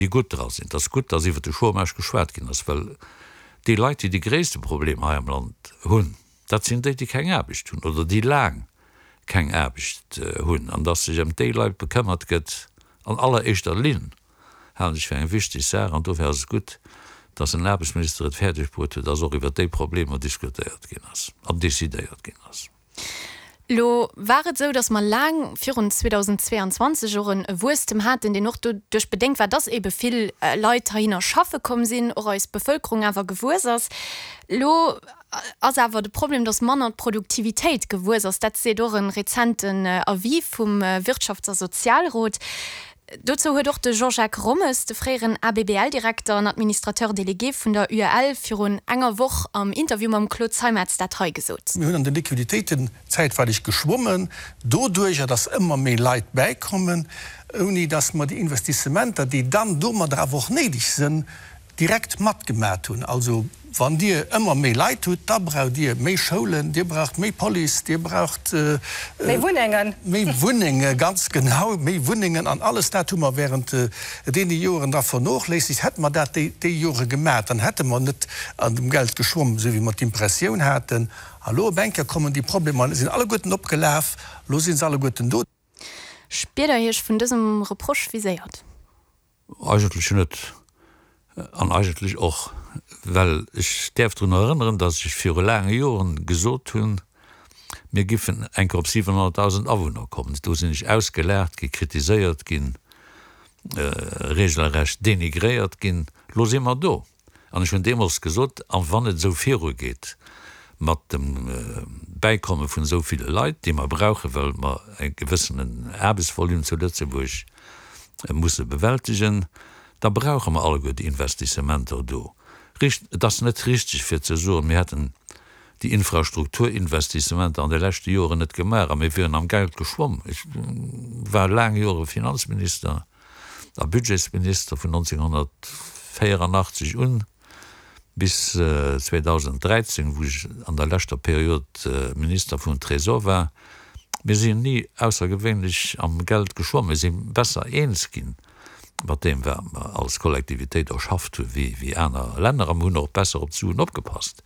Déi gutt dra sinn. Et ass gutt, dass iwwert de Chômage geschwat ginn ass, well déi Leit, déi déi gréisste Problemer hei am Land hunn, dat sinn déi, déi keng Aarbecht hunn oder déi laang keng Aarbecht hunn. An dass sech ëm déi Leit bekëmmert gëtt an alleréischter Linn, halen ech fir eng wichteg Saach. An dofir ass et gutt, dass den Aarbechtsminister et fäerdeg bruet huet, dass och iwwert déi Problemer diskutéiert ginn ass an decidéiert ginn ass. Elo war et esou, datt mer laang virun 2022 och e Wuesstem haten, deen och doduerch bedéngt war, datt eebe vill Leit heihinner schaffe komm sinn, och eis Bevëlkerung awer gewuess ass. Elo ass awer de Problem, datt manner d'Produktivitéit gewuess ass. Dat seet och e rezenten Avis vum Wirtschafts a Sozialrot. Dozou huet och de Jean-Jacques Rommes, de fréieren ABBL-Direkter an Administrateur délégué vun der UEL, virun enger Woch am Interview mam Claude Zeimetz dat hei gesot. Mir hunn an de Liquiditéiten zäitweileg geschwommen, doduerjer datt ëmmer méi Leit bäikommen, ouni datt mer déi Investissementer, déi dann domadder awer och néideg sënn, direkt matgemat hunn. Also wann Dir ëmmer méi Leit hutt, da braucht Dir méi Schoulen, Dir braucht méi Police, Dir braucht méi Wunnengen. Méi Wunnenge, ganz genau, méi Wunnengen. An alles dat hu mer während deene Joren da vernochléissegt. Hätte mer dat déi Jore gemat, dann hätte mer net an dem Geld geschwomm, esou wéi mer d'Impressioun haten. A lo op eng Kéier kommen déi Problemer, sinn alleguerten opgelaf, lo si se alleguerten do. Spiert Der Iech vun dësem Reproche viséiert? Eigentlech net. An eigentlech och, well ech däerf drun erënneren, datt ech viru laange Joren gesot hunn, mir giffen eng Kéier op 700.000 Awunner kommen. Do sinn ech ausgelaacht ginn, kritiséiert ginn, regelrecht denigréiert ginn. Elo si mer do. An ech hunn deemools gesot, a wann et esou virugeet mat dem Bäikomme vun esou ville Leit, déi mer brauchen, well mer e gewëssenen Aarbechtsvolume zu Lëtzebuerg musse bewältegen, da brauche mer alleguer déi Investissementer do. Richt, et ass net richteg fir ze soen, mir hätten déi Infrastrukturinvestissementer an de leschte Joren net gemaach a mir wieren am Geld geschwomm. Ech war laang Jore Finanzminister. a Budgetsminister vun 1984 un bis 2013, wou ech an der leschter Period Minister vum Trésor war. Mir sinn ni aussergewéinlech am Geld geschwomm. Mir si besser eens ginn mat deem, wat mer als Kollektivitéit erschafft hu wéi aner Länner a mir hunn och besser op d'Suen opgepasst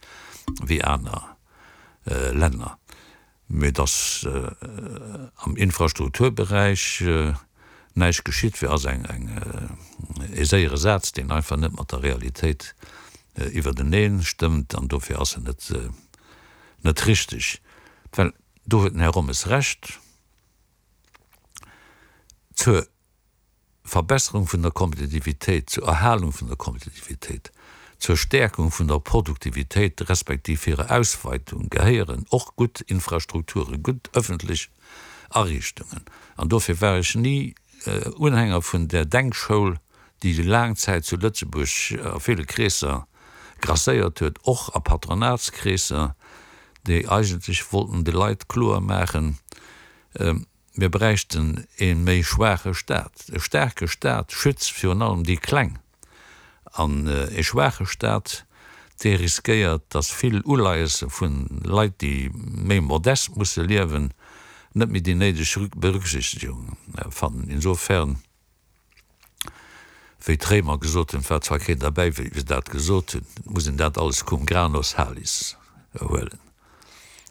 wéi aner Länner. Mee dass am Infrastrukturberäich näischt geschitt wier, ass e séiere Saz, deen einfach net mat der Realitéit iwwertenee stëmmt an dofir ass en net richteg. Well do huet den Här Rommes Recht, zur Verbesserung vun der Kompetitivitéit, zur Erhalung vun der Kompetitivitéit, zur Stäerkung vun der Produktivitéit respektiv hirer Ausweitung gehéieren och gutt Infrastrukturen, gutt öffentlech Ariichtungen. An dofir war ech ni Unhänger vun där Denkschoul, déi laang Zäit zu Lëtzebuerg a ville Kreesser grasséiert huet, och a Patronatskreesser, déi eigentlech wollten de Leit kloer maachen, Mir bräichten ee méi schwaache Staat. E staarke Staat schützt virun allem déi Kleng. An ee schwaache Staat, dee riskéiert, datt vill Uleiesse vu Leit, déi méi modest musse liewen, net méi déi néideg Berücksichtegung fannen. Insofern. Wéi d'Réimer gesot hunn, et war zwar keen derbäi, wéi se dat gesot hunn, et muss een dat alles cum grano salis huelen.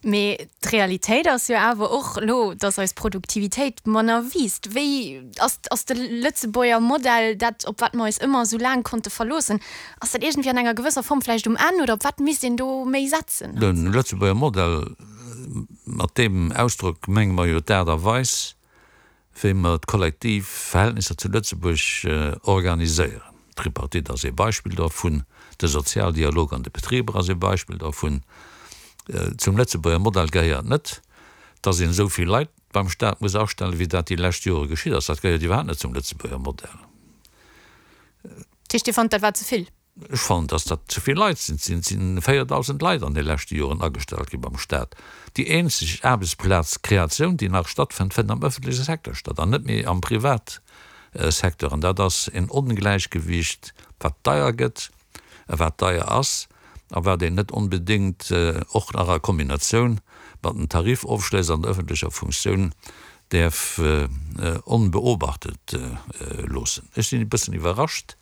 Mee d'Realitéit ass jo awer och elo, datt eis Produktivitéit manner wiisst. Wéi ass, ass de Lëtzebuerger Modell, dat op wat mer eis ëmmer esou laang konnte verloossen, ass dat iergendwéi an enger gewësser Form vläicht um Enn oder op wat misst een do méi setzen? De Lëtzebuerger Modell, mat deem Ausdrock menge mer jo d'Aart a Weis, wéi mer d'kollektiv Verhältnisser zu Lëtzebuerg organiséieren. D'Tripartite ass ee Beispill dervun, de Sozialdialog an de Betriber ass ee Beispill dervun. Zum Lëtzebuerger Modell gehéiert net, dass een esou vill Leit beim Staat muss astellen, wéi dat déi lescht Jore geschitt ass. Dat gehéiert iwwerhaapt net zum Lëtzebuerger Modell. Dat heescht, Dir fannt, dat war ze vill? Ech fannen, dass dat ze vill Leit sinn. Et sinn 4.000 Leit an de leschte Joren agestallt gi beim Staat. Déi eenzeg Aarbechtsplazkreatioun, déi nach stattfënnt, fënnt am ëffentleche Secteur statt an net méi am Privatsecteur. An dat ass en Ongläichgewicht, wat deier gëtt a wat deier ass a wat een net onbedéngt och nach a Kombinatioun mat den Tarifofschléss an der ëffentlecher Funktioun däerf onbeobachtet loossen. Ech sinn e bëssen iwwerrascht.